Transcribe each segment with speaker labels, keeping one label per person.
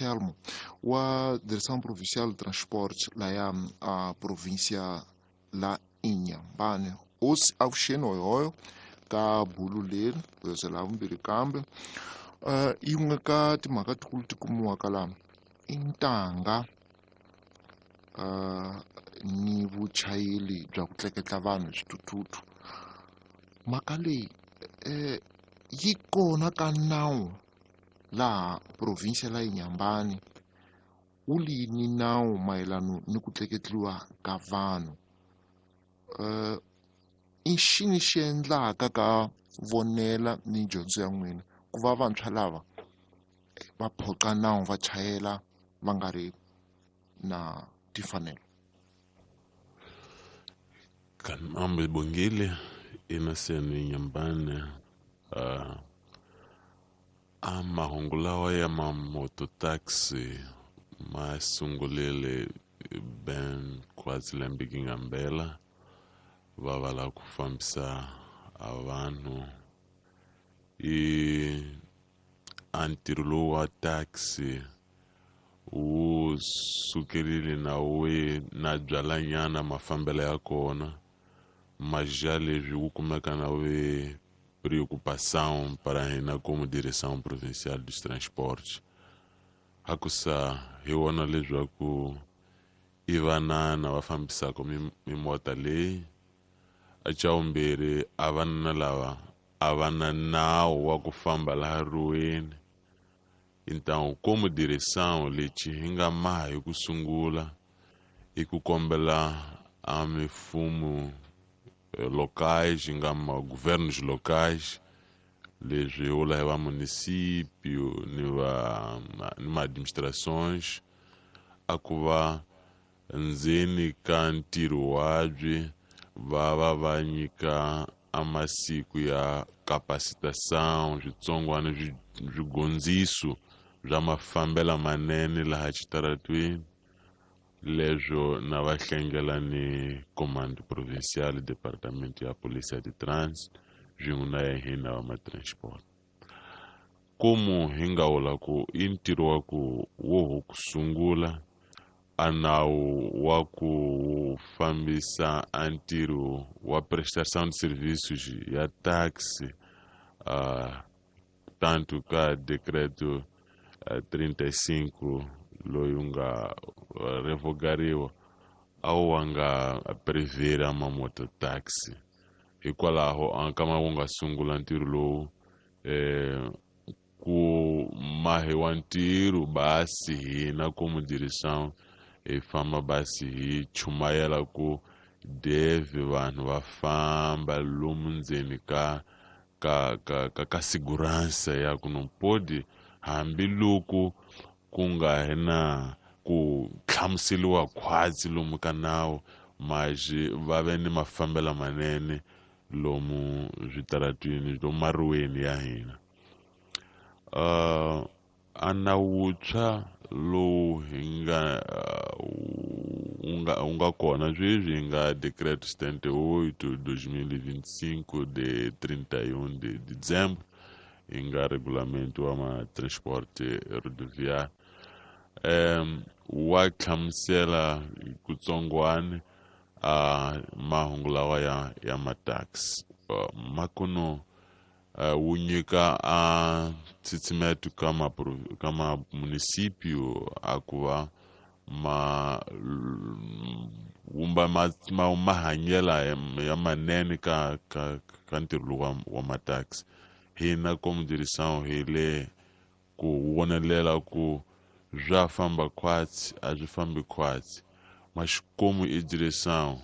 Speaker 1: Anselmo wa Direção Provincial de Transportes laya a província la Inhambane. Hosi avuxeni hoyohoyo ka bulu leri goza la vumbirhi kambe yin'we ka timhaka tikulu ti kumiwaka laha i ntanga ni vuchayeri bya ku tleketla vanhu hi swithuthuthu. Mhaka leyi yi kona ka nawu laha province la Inhambane wu lini nawu mayelana ni ku tleketliwa ka vanhu. I xini xi endlaka ka vonela ni dyondzo ya n'wina ku va vantshwa lava va phoqa nawu va chayela va nga ri na timfanelo?
Speaker 2: Kanambe Bongile Innocent Inhambane a mahungu lawa ya mamototaxi ma sungulile ben khwatsi lembe ngambela va va lava ku fambisa a vanhu i a ntirho lowu wa taxi wu sukerile na we na byalanyana mafambelo ya kona mas já leswi wu kumeka na we preocupação para hina como direção provincial dos transportes hakusa hi vona leswaku i vanana va fambisaka mimota leyi a xa vumbirhi a vanana lava a va na nawu wa ku famba laha ruweni. Então como direção lexi hi nga maha hi ku sungula i ku kombela a mifumo locais hi nga ma governos locais leswi hi vula hi va município ni va ni ma administrações a ku va ndzeni ka ntirho wabyi va va va nyika a masiku ya capacitação switsongwana swigondziso bya mafambelo manene laha xitaratweni leswo na va hlengela ni commando provincial departamento ya polícia de trânsito swin'we na ya hina va ma-transport. Komu hi nga vula ku i ntirho wa ku wo ho ku sungula a nawu wa ku fambisa a ntirho wa prestação de serviços ya taxi tanto ka decreto 35 loyi wu nga revogariwa a wu wa nga prevera mamototaxi hikwalaho a nkama wu nga sungula ntirho lowu ku mahiwa ntirho basi hina como direção hi famba basi hi chumayela ku deve vanhu va famba lomu ndzeni ka ka ka ka ka segurança ya ku não pode hambiloko ku nga hi na ku hlamuseriwa khwatsi lomu ka nawu mas va ve ni mafambelo manene lomu switaratwini lomu maruweni ya hina. A nawu wuntshwa lowu hi nga wu nga kona sweswi hi nga decreto 78 2025 de 31 de dezembro hi nga regulamento wa ma-transporte rodoviário wa hlamusela hi kutsongwana a mahungu lawa ya ma-taxi makuno wu nyika a ntshitsimeto ka ma ka ma município a ku va ma wumba ma mahanyela ya manene ka ka ka ntirho lowu wa ma-taxi. Hina como direção hi le ku vonelela ku swa famba khwatsi a swi fambi khwatsi mas como i direção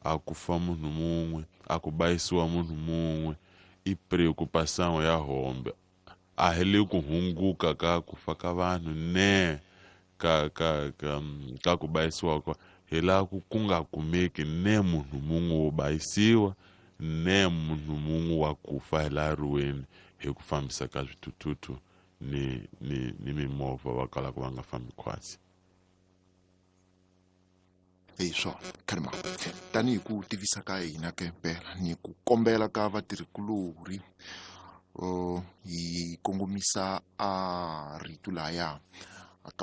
Speaker 2: a ku fa munhu mun'we a ku bayisiwa munhu mun'we i preocupação ya hombe a hi le ku hunguka ka ku fa ka vanhu ne ka ka ka ka ku bayisiwa ka hi laha ku nga kumeki ne munhu mun'we wo bayisiwa ne munhu mun'we wa ku fa hi laha ruweni hi ku fambisa ka swithuthuthu ni ni ni mimovha va kalaka va nga fambi khwatsi.
Speaker 1: Hi swona khalima tanihi ku tivisa ka hina ke mpela ni ku kombela ka vatirhikulorhi hi kongomisa a rito laya